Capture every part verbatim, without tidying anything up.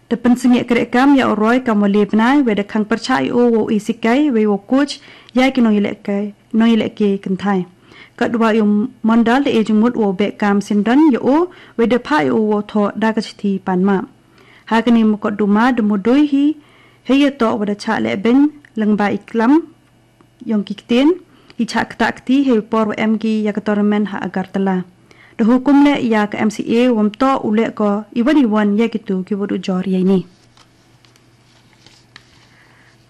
Da pynsangeh kreh kam ïa u Roy kam u le bnai, wei da khang pyrshah ïa u wow e sikai, wei wow coach ïa ki nongïalehkai, nongïalehkai kynthai. Katwa ïa u Mondal da e jingmut wow beh kam syndon ïa u, wei da phah ïa u wow thoh da ka shithi pan map. Ha kane ka mukotduma da mudui hi, hei ïa toh wa da chah leh beiñ lyngba i klam ïong ki ktien, i chah ktah kti hei por wa em ki ïa ka tournament ha Agartala. Da hukum leh ïa ka M C A wam toh u leh ko iwan iwan ïa kitu ki wa du jor ïa ini.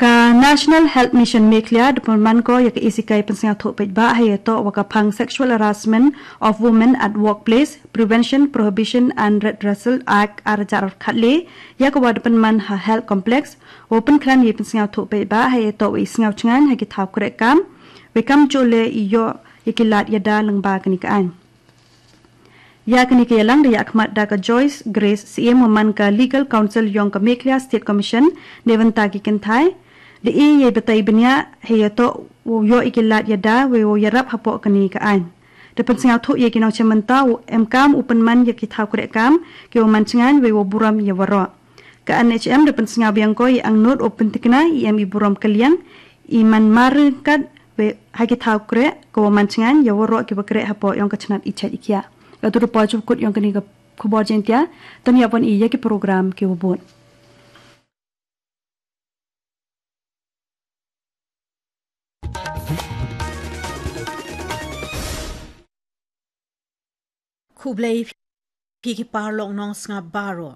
Ka National Health Mission Meghalaya da pynman ko ïa ka e sikai pynsngewthuh paidbah hei ïa toh wa ka phang Sexual Harassment of Women at Workplace, Prevention, Prohibition and Redressal Act ar hajar khatle, ïa ka wa da pynman ha Health Complex, wa pynkhlaiñ ïa pynsngewthuh paidbah hei ïa toh wa i sngew chngaiñ ha ki thaw kreh kam, wei kam jooh leh i ïoh ïa ki lad ïada lyngba kane ka aiñ. Ïa kane ka ïalang da ïakhmat da ka Joyce Grace Syiem wa man ka Legal Counsel ïong ka Meghalaya State Commission, neibynta ki kynthai, da e ïa batai bniah hei ïa toh wow ïoh ïa ki lad ïada wei wow ïarap hapoh kane ka aiñ. Da pynsngewthuh ïa ki nongshim bynta u em kam u pynman ïa ki thaw kreh kam, ki wa man chngaiñ wei wow burom ïa waroh. Ka N H M da pynsngew biang ko i angnud u pyntikna i em i burom kylliang, i man mar ryngkat wei ha ki thaw kreh, ka wa man chngaiñ ïa waroh ki wa kreh hapoh ïong ka chnat i chait i khiah. Ka tu da poi shuh kut ïong kane ka khubor Jaiñtia, to ïa pon i ïa ki program ki wa bud. Khublei phi ki paralok nongsngap baroh.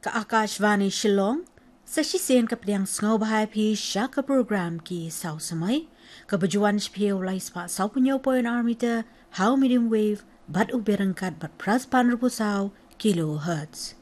Ka Akashvani Shillong, sa shisien ka pdiang sngewbha ïa phi sha ka program Ki Saw Samoi, ka ba ju wan sha phi ha u lai spah saw phew hynñiew point ar meter, ha u medium wave, bad u byrngkat bad phra spah hynriewphew saw kilohertz.